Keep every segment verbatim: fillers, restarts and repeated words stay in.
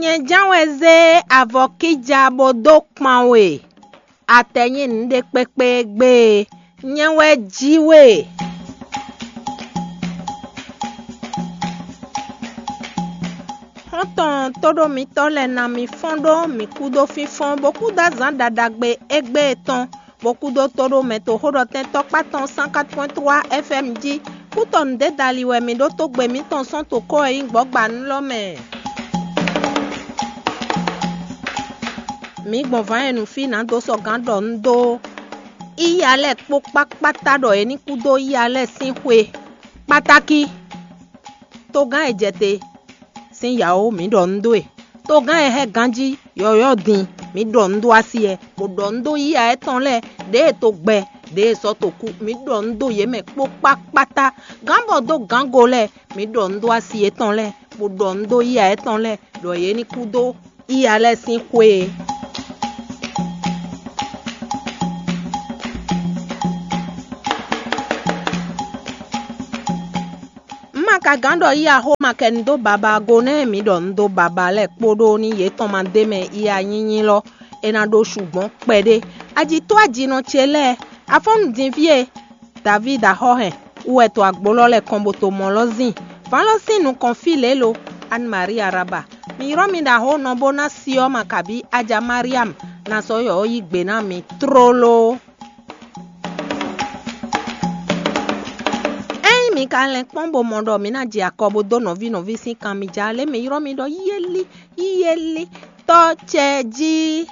Nyɛ ján wɛ zé avɔ kíja bó dó kpan we. Atɛ nyí nǔɖé kpékpé gbé e. Nyɛ wɛ jí we. Xɔ́ntɔn tóɖó mitɔ́ lɛ́ɛ ná mi fɔ́n ɖó mǐ kúdó fínfɔ́n, bó kúdó azǎn ɖaɖagbe égbé tɔn, bó kúdó tóɖó mɛ toxóɖɔtɛn tɔkpá tɔn cent quatre point trois F M jí. Kútɔnu dé dali wɛ mǐ ɖótó gbe mǐtɔn sɔ́n to kó e nyí gbɔ̌gbanu lɔ mɛ. Mǐ gbɔn vǎn e nǔ fí nǎ dó sɔ́ gǎn ɖɔ nú dó yíya lɛ́ɛ kpó kpákpáta ɖɔ yě ní kú dó yíya lɛ́ɛ sín xwe kpátákí. Togán e jɛ te sín yǎó mǐ ɖɔ nú dó e. Togán e hɛ́ ganjí yɔ̌yɔ́ din mǐ ɖɔ nú dó así ɛ, bó ɖɔ nú dó yíya étɔn lɛ́ɛ, ɖěe to gbɛ, ɖěe sɔ́ to kú, mǐ ɖɔ nú dó yě mɛ kpó kpákpáta. Gǎn bɔ dó gǎngo lɛ́ɛ, mǐ ɖɔ nú dó así yětɔn lɛ́ɛ, bó ɖɔ nú dó yíya étɔn lɛ́ɛ ɖɔ yě ní kú dó yíya lɛ́ɛ sín xwe e. Un ma ka gǎn ɖɔ yíya xó ma kɛ nu dó baba go nɛ́ mǐ ɖɔ nu dó baba lɛ́ɛ kpóɖó ní yětɔn ma d'é mɛ yíya nyínyí lɔ, é ná ɖó su gbɔn kpɛɖé. Ajǐtó ajinɔ ce lɛ́ɛ, afɔ́nnu din fí e Davídi axɔ́ hɛn wú wɛ to agbo lɔ lɛ́ɛ kɔn bo to mɔ lɔ zin. Vǎn lɔ sín nukɔn fí lě lo, Anne Marie Araba. Mi ylɔ́ mi ɖo axó nɔ bó ná si ɔ́ ma kabí Aja Mariam ná sɔ́ yɔ̌yɔ́ yí gbe ná mi tlóló. Ényí mi ka lɛn kpɔ́n bo mɔ ɖɔ mi ná jɛ akɔ bo dó nɔví nɔví sín kan mi ja lě mi ylɔ́ mi ɖɔ yéli yéli tɔ́ ce jí.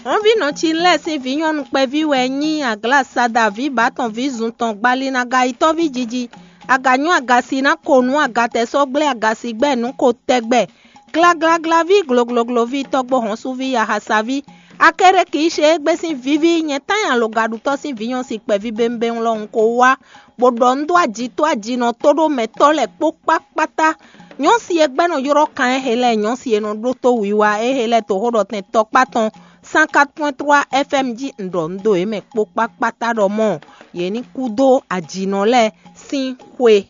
Hɔnvínɔ ci lɛ́ɛ sín vǐ nyɔ́nu kpɛví wɛ nyí Aglasada vǐ bǎtɔn vǐ zun tɔn gbalinaga yitɔ́ví jiji. Aga nyɔ́ aga si ná ko nǔ agatɛ sɔ́ gblé aga si gbɛ́ nǔ ko tɛgbɛ. Glaglaglaví gloglogloví tɔ́gbó hɔ́nsúví yahasaví. Akérékǐ ṣe égbé sín víví nyɛ tán nyi alɔgaɖutɔ́ sín vǐ nyɔ́ si kpɛví bémbéŋ lɔ un ko wá, bó ɖɔ un dó ajitó ajinɔ tóɖómɛtɔ́ lɛ́ɛ kpó kpákpátá. Nyɔ̌si e gbɛ́ nɔ ylɔ́ kan éhe lɛ́ɛ, nyɔ̌si e nɔ ɖótó wiwa éhe lɛ́ɛ toxóɖɔtɛn tɔkpá tɔn cent quatre point trois F M jí un ɖɔ un dó yě mɛ kpó kpákpátá ɖɔ mɔ̌ yě ní kú dó ajinɔ lɛ́ɛ sín xwe.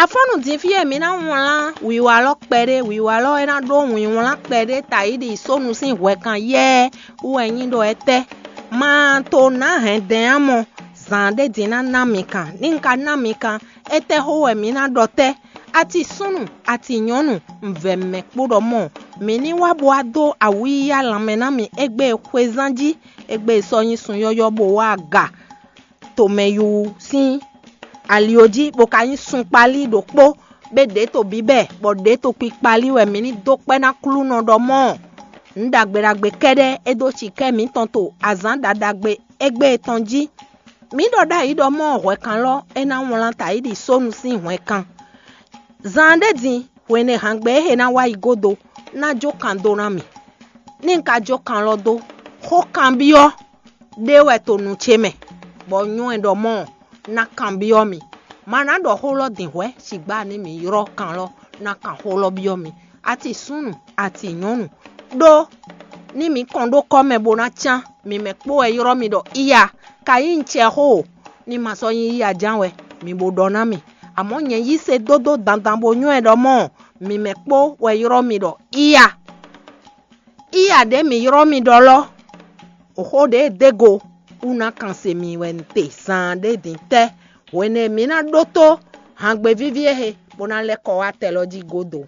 Afɔ́nnu din fí e mi ná wlán wǐwá lɔ kpɛɖé, wǐwá lɔ e ná ɖó wǐnwlán kpɛɖé tayíɖi sónu sín hwɛkan yɛ́ɛ wú wɛ nyí ɖɔ etɛ́? Ma to nǎ hɛn dɛn ǎ mɔ, zǎn ɖé din ná ná mi kan. Ní un ka ná mi kan, étɛ́ xó wɛ mi ná ɖɔ tɛ́? Ati súnnu, ati nyɔ̌nu, un vɛ mɛ kpó ɖɔ mɔ̌, mǐ ní wá bo wá dó awǐyíyá lanmɛ ná mi égbé e xwezán jí, égbé e sɔ́ nyí sun yɔ́yɔ́ bó wá aga tomɛyúwú sín ali ɔ́ jí, bó ka nyí sun kpálí ɖokpó, bó ɖě to bíbɛ́, bɔ ɖě to kpikpalí wɛ mǐ ní dó kpɛ́ ná Aklúnɔ ɖɔ mɔ̌. Nǔ ɖagbe ɖagbe kɛ́ɖɛ́ é dó cikɛ́ mǐtɔn to azǎn ɖaɖagbe égbé tɔn jí. Mǐ ɖɔ ɖ'ayǐ ɖɔ mɔ̌ hwɛkanlɔ́ é ná wlán tayíɖi sónu sín hwɛkan. Zaan ɖé din, hwenu e hǎngbe e he ná wá yi gúdo ná jó kan dó ná mì. Ní un ka jó kan lɔ dó, xó kanbyɔ́ ɖé wɛ to nu ce mɛ, bɔ nyɔ́ ɛ ɖɔ mɔ̌ ná kanbyɔ́ mi. Ma ná ɖɔ xó lɔ din hwɛ̌, sigbá ní mi ylɔ́ kan lɔ ná kan xó lɔ byɔ́ mi. Ati súnnu, ati nyɔ̌nu, ɖó ní mi kɔn ɖó kɔ́ mɛ bó ná cán, mi mɛ kpó wɛ ylɔ́ mi ɖɔ iya, ka nyí un cɛ xó o, ní ma sɔ́ nyí iya ján wɛ mi bo ɖɔ ná mì. Amɔ̌ nyɛ yí se dódó dandan bo nywɛ́ ɖɔ mɔ̌, mi mɛ kpó wɛ ylɔ́ mi ɖɔ iya. Iya ɖě mǐ ylɔ́ mi ɖɔ lɔ́, xó ɖě e dé go wú ná kan se mi wɛ un te zaan ɖé din tɛ́, hwenu e mǐ ná ɖótó hǎngbe víví e he bó ná lɛ́ kɔ wá tɛ lɔ jí gúdo.